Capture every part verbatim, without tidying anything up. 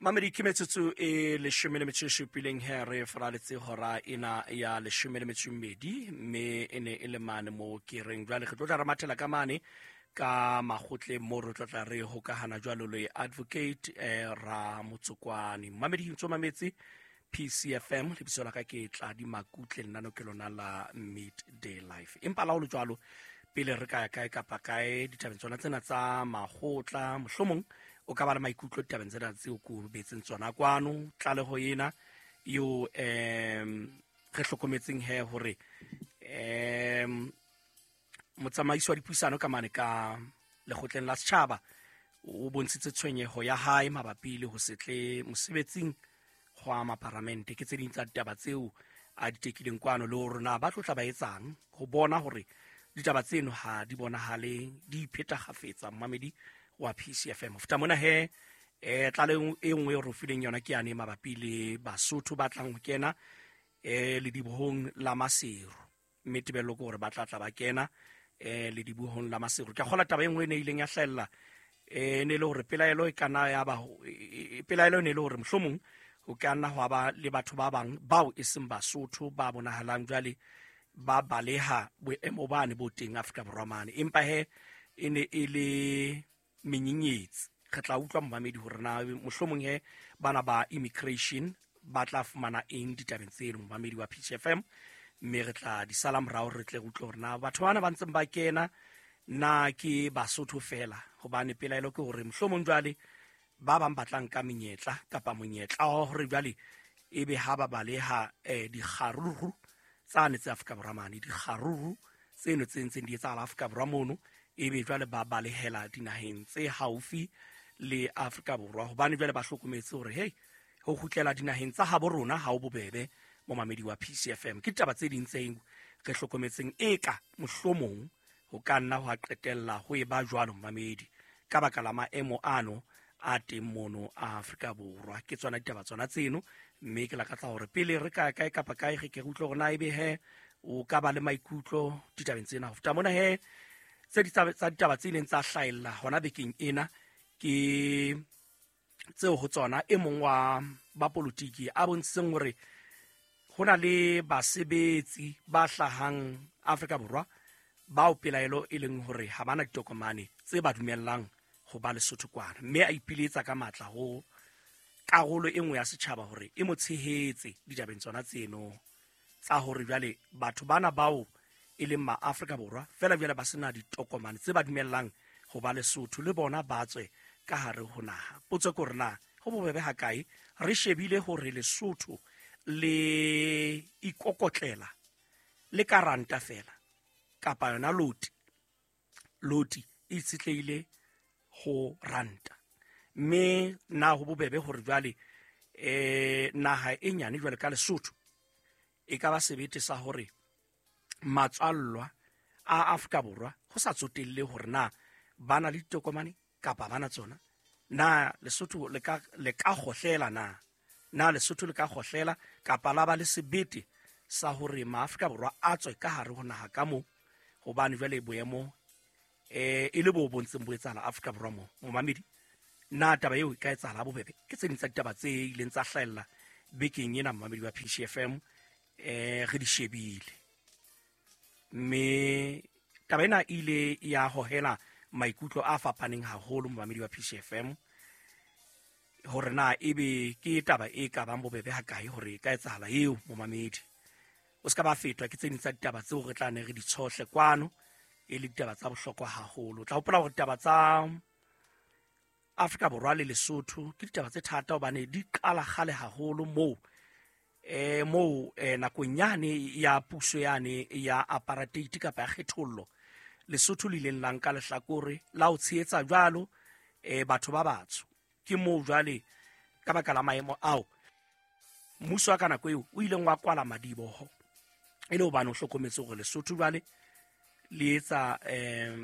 Mamedi, ke metsotso e leshome le metso e supileng he re faraletse hora ena ya leshome le metso e mmedi, mme e ne e le mane mo ke reng jwale re tlo tla re mathela ka mane ka makgotleng mo re tlo tla re hokahana jwalo le advocate eh, Ramotsokwane. Mamedi, ntso mametse P C F M, lebitso la ka ke Tladi Makutle, lenano ke lona la Midday Life. Empa la ho le jwalo, pele re ka ya kae kapa kae ditabeng tsona tsena tsa makgotla, mohlomong o ka ba le maikutlo ditabeng tsena tseo ko betseng tsona kwano, tlaleho ena eo, em, re hlokometseng he hore, em, motsamaisi wa dipuisano ka mane ka lekgotleng la setjhaba o bontshitse tshwenyeho ya hae mabapi le ho se tle mosebetsing hwa maparamente. Ke tse ding tsa ditaba tseo a di tekileng kwano, le hore na ba tlo tla ba etsang ho bona hore ditaba tseno ha di bonahale di ipheta kgafetsa. Mmamedi wa P C F M, ho feta mona he, eh, tlaleho e nngwe eo re fileng yona ke yane mabapi le Basotho ba tlang ho kena, eh, ledibohong la Maseru, mme tebello ke hore ba tla tla ba kena, eh, ledibohong la Maseru. Ke a kgolwa taba e nngwe e ne ileng ya hlahella, eh, e ne e le hore pelaelo e ka nna ya ba ho, e, e, pelaelo e ne e le hore mohlomong ho ka nna hwa ba le batho ba bang bao e seng Basotho ba bonahalang jwale ba baleha boemo bane bo teng Afrika Borwa mane, empa he e ne e le menyenyetsi. Re tla utlwa momamedi hore na mohlomong he bana ba immigration ba tla fumana eng ditabeng tseno, momamedi wa P C F M, mme re tla di sala morao re tle re utlwe hore na batho bana ba ntseng ba kena na ke Basotho fela, hobane pelaelo ke hore mohlomong jwale ba bang ba tla nka menyetla kapa monyetla wa hore jwale ebe ha ba baleha, eh, dikgaruru tsane tse Afrika Borwa mane, dikgaruru tseno tse ntseng di etsahala Afrika Borwa mono, ebe jwale ba balehela dinaheng tse haufi le Afrika Borwa, hobane jwale ba hlokometse hore hey, ho kgutlela dinaheng tsa habo rona ha ho bobebe. Momamedi wa P C F M, ke ditaba tse ding tse re hlokometseng eka mohlomong ho ka nna hwa qetella ho eba jwalo, momamedi, ka baka la maemo ano a teng mono a Afrika Borwa. Ke tsona ditaba tsona tseno, mme ke lakatsa hore pele re ka kae kapa kae re ke re utlwe hore na ebe he o ka ba le maikutlo ditabeng tsena. Ho feta mona he, tse ditaba tsa ditaba tse ileng tsa hlahella hona bekeng ena ke tseo ho tsona e mong wa ba politiki a bontshitseng hore ho na le basebetsi ba hlahang Afrika Borwa bao pelaelo e leng hore ha bana ditokomane tse ba dumellang ho ba Lesotho kwana, mme a ipiletsa ka matla ho karolo e nngwe ya setjhaba hore e mo tshehetse ditabeng tsona tseno tsa hore jwale batho bana bao e leng ma Afrika Borwa fela jwale ba sena ditokomane tse ba dumellang ho ba Lesotho le bona ba tswe ka hare ho naha. Potso ke hore na ho bobebe ha kae re shebile hore Lesotho le ikokotlela le ka ranta fela kapa yona loti, loti e itshetlehile ho ranta, mme na ho bobebe hore jwale, eh, naha e nyane jwale ka Lesotho e ka ba sebete sa hore matswallwa a Afrika Borwa ho sa tsotelle hore na ba na le ditokomane kapa ba na tsona, na Lesotho le ka, le ka kgohlela na? Na Lesotho le ka kgohlela kapa la ba le sebete sa hore maAfrika Borwa a tswe ka hare ho naha ka moo, hobane jwale boemo, eh, e le bo bontseng bo etsahala Afrika Borwa moo. Momamedi, na taba eo e ka etsahala bobebe? Ke tse ding tsa ditaba tse ileng tsa hlahella bekeng ena, momamedi wa P C F M, eh, re di shebile. Mme taba ena e ile ya hohela maikutlo a fapaneng haholo, momamedi wa P C F M, hore na ebe ke taba e ka bang bobebe ha kae hore e ka etsahala eo, momamedi. O se ka ba fetwa ke tse ding tsa ditaba tseo re tla ne re di tshohle kwano, e le ditaba tsa bohlokwa haholo. O tla hopola hore ditaba tsa Afrika Borwa le Lesotho ke ditaba tse thata hobane di qala kgale haholo moo, eh, moo, eh, nakong yane ya puso yane ya apartheid kapa ya kgethollo, Lesotho le ileng la nka lehlakore la ho tshehetsa jwalo, eh, batho ba batsho. Ke moo jwale ka baka la maemo ao mmuso wa ka nako eo o ileng wa kwala madiboho, e le hobane o hlokometse hore Lesotho jwale le etsa, eh,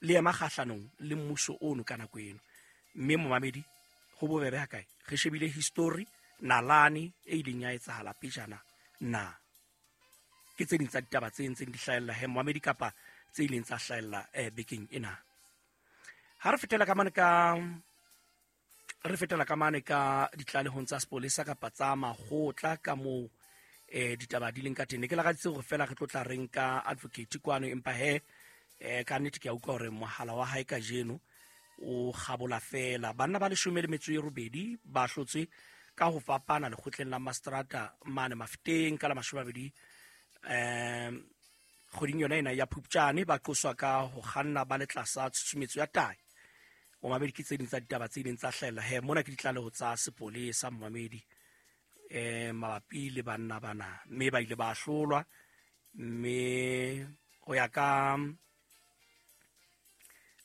le ema kgahlanong le mmuso ono ka nako eno. Mme momamedi, ho bobebe ha kae re shebile history nalane e ileng ya etsahala pejana na? Ke tse ding tsa ditaba tse ntseng di hlahella he momamedi kapa tse ileng tsa hlahella, eh, bekeng ena. Ha re fetela ka mane ka Re fetela ka mane ka ditlalehong tsa sepolesa kapa tsa makgotla ka moo eh ditaba di leng ka teng. Ne ke lakaditse hore fela re tlo tla reng ka advocate kwano, empa he eh ka nnete ke a utlwa hore mohala wa hae kajeno o kgabola fela. Banna ba leshome le metso e robedi ba hlotswe ka ho fapana lekgotleng la Mastrata mane Mafeteng ka la mashome a mabedi um kgweding yona ena ya Phupjane, ba qoswa ka ho kganna ba le tlasa tshusumetso ya tahi. Momamedi, ke tse ding tsa ditaba tse ileng tsa hlahella he mona ke ditlaleho tsa sepolesa momamedi eh mabapi le banna bana, mme ba ile ba hlolwa. Mme ho ya ka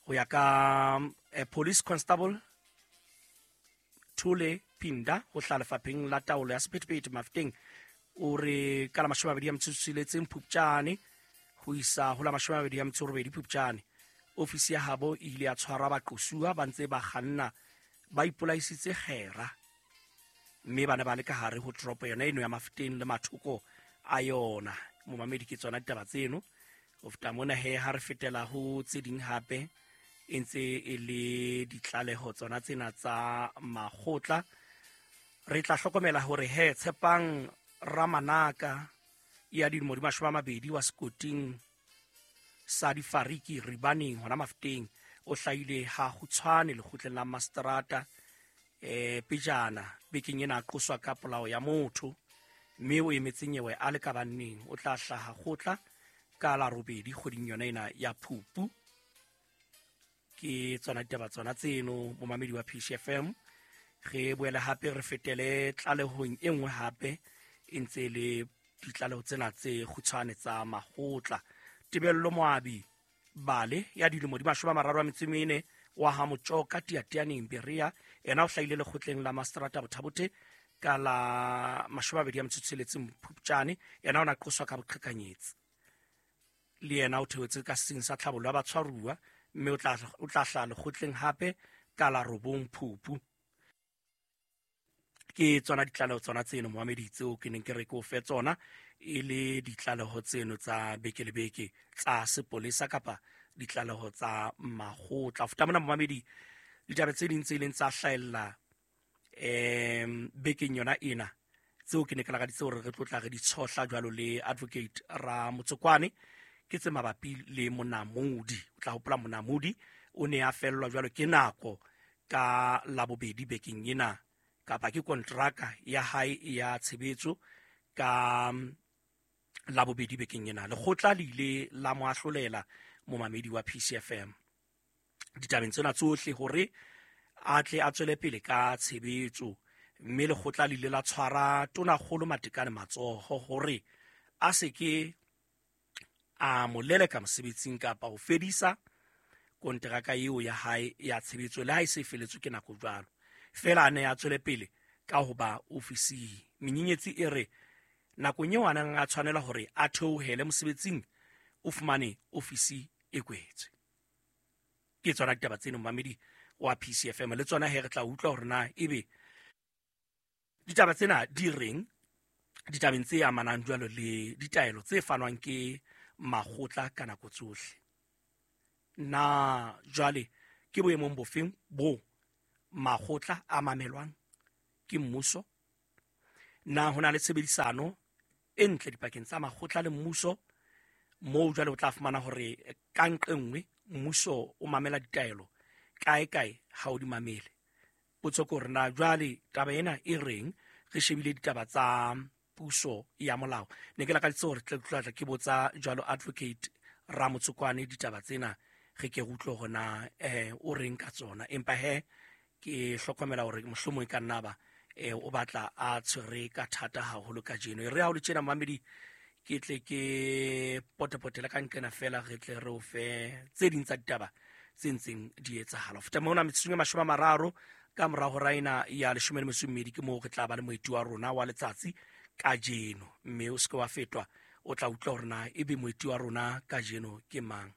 ho ya ka eh, police constable Thule Pinda ho hlaha lefapheng la taolo ya sephethephethe Mafeteng, o re ka la mashome a mabedi a metso e tsheletseng Phupjane ho isa ho la mashome a mabedi a metso e robedi Phupjane, ofisi ya habo e ile ya tshwara baqosuwa ba ntse ba kganna ba ipolaisitse kgera, mme ba ne ba le ka hare ho toropo yona eno ya Mafeteng le mathoko a yona. Momamedi, ke tsona ditaba tseno. Ho feta mona he ha re fetela ho tse ding hape e ntse e le ditlaleho tsona tsena tsa makgotla. Re tla hlokomela hore he Tshepang Ramanaka ya dilemo di mashome a mabedi wa sekoting sa Difariki Ribaneng hona Mafeteng o hlahile ha kgutshwane lekgotleng la Mastrata eh pejana bekeng ena a qoswa ka polao ya motho, mme o emetse nyewe a le ka banneng. O tla hlaha kgotla ka la robedi kgweding yona ena ya Phupu. Ke tsona ditaba tsona tseno momamedi wa P C F M. Re boele hape re fetele tlalehong e nngwe hape e ntse le ditlaleho tsena tse kgutshwane tsa makgotla. Tebello Moabi Bale ya dilemo di mashome a mararo a metso e mene wa ha Motjoka Tiatianeng Berea, yena o hlahile lekgotleng la Mastrata Bothabothe ka la mashome a mabedi a metso e tsheletseng Phupjane. Yena o na qoswa ka boqhekanyetsi, le yena o theohetse ka setsing sa tlhabollo ya batshwaruwa, mme o tla o tla hlaha lekgotleng hape ka la robong Phupu. Ke tsona ditlaleho tsona tseno momamedi tseo ke neng ke re ke o fe tsona e le ditlaleho tseno tsa beke le beke tsa sepolesa kapa ditlaleho tsa makgotla. Ho feta mona momamedi, ditaba tse ding tse ileng tsa hlahella um bekeng yona ena tseo ke ne ke lakaditse hore re tlo tla re di tshohla jwalo le advocate Ramotsokwane ke tse mabapi le Monamodi. O tla hopola Monamodi o ne a fellwa jwalo ke nako ka labobedi bekeng ena, kapa ke kontraka ya hae ya tshebetso ka labobedi bekeng ena. Lekgotla le ile la mo ahlolela momamedi wa P C F M ditabeng tsena tsohle hore a tle a tswele pele ka tshebetso, mme lekgotla le ile la tshwara Tonakgolo Matekane matsoho hore a se ke a mo leleka mosebetsing kapa ho fedisa kontraka eo ya hae ya tshebetso le ha e se feletswe ke nako jwalo, fela a ne a tswele pele ka ho ba ofising. Menyenyetsi e re nakong eo a neng a tshwanela hore a theohele mosebetsing o fumane ofisi e kwetswe. Ke tsona ditaba tseno momamedi wa P C F M, le tsona he re tla utlwa hore na ebe ditaba tsena di reng ditabeng tse amanang jwalo le ditaelo tse fanwang ke makgotla ka nako tsohle. Na jwale ke boemong bofeng bo makgotla a mamelwang ke mmuso? Na ho na le tshebedisano e ntle dipakeng tsa makgotla le mmuso, moo jwale o tla fumana hore ka nqe nngwe mmuso o mamela ditaelo kae kae ha o di mamele? Potso ke hore na jwale taba ena e reng re shebile ditaba tsa puso ya molao. Ne ke lakaditse hore tle tla ke botsa jwalo advocate Ramotsokwane ditaba tsena, re ke utlwe hore na eh o reng ka tsona, empa he ke hlokomela hore mohlomong e ka nna ba eh o batla a tshwere ka thata haholo kajeno. E re ha o le tjena mamedi, ke tle ke potepotela ka nqena fela re tle re o fe tse ding tsa ditaba tse ntseng di etsahala. Ho feta mona metsotsong e mashome a mararo ka mora hora ena ya leshome le metso e mmedi ke moo re tla ba le moeti wa rona wa letsatsi kajeno, mme o se ke wa fetwa, o tla utlwa hore na ebe moeti wa rona kajeno ke mang.